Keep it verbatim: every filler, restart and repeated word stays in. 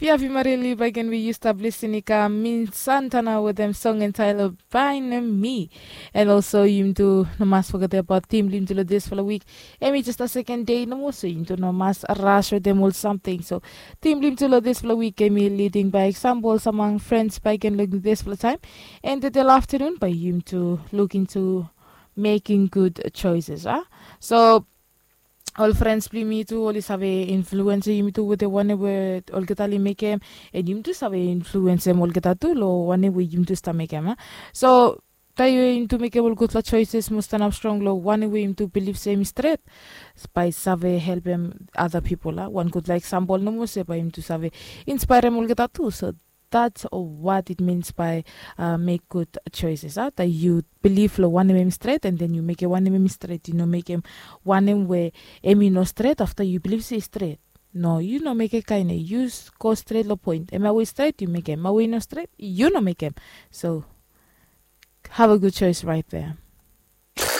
Biabi marili bagen we yu stap lisin i kam min santana wetem song entailo bainem mi. And also yum tu no mas fogetem abaut tim blim tu lo dispela wik. Em i just a second day nomo, so yum tu no mas ras wetem ol samting. So tim blim tu lo dispela wik em i leading by example samang friends bagen lo dispela time. And tedela afternoon by yum tu look into making good choices, ah. So ol frens blong yumi tu oli save influensa yumi tu wetem wanem we olgeta oli mekem, and yumi tu save influensem olgeta tu long wanem we yumi tu stap mekem, a. So taim we yumi tu mekem ol gutpela choices mo stanap strong long wanem we yumi tu bilip se em i stret, bai save helpem other pipol, a. Wan gutpela eksampol nomo se bai yumi tu save inspaerem olgeta tu. So that's what it means by uh, make good choices, a. That you believe lo wanem em stret, and then you make wanem em stret. You no make em wanem we em i no stret after you believe se stret. No, you no make a kaine. You go straight lo point. Em a way straight, you make em. A way no straight, you no make em. So have a good choice right there.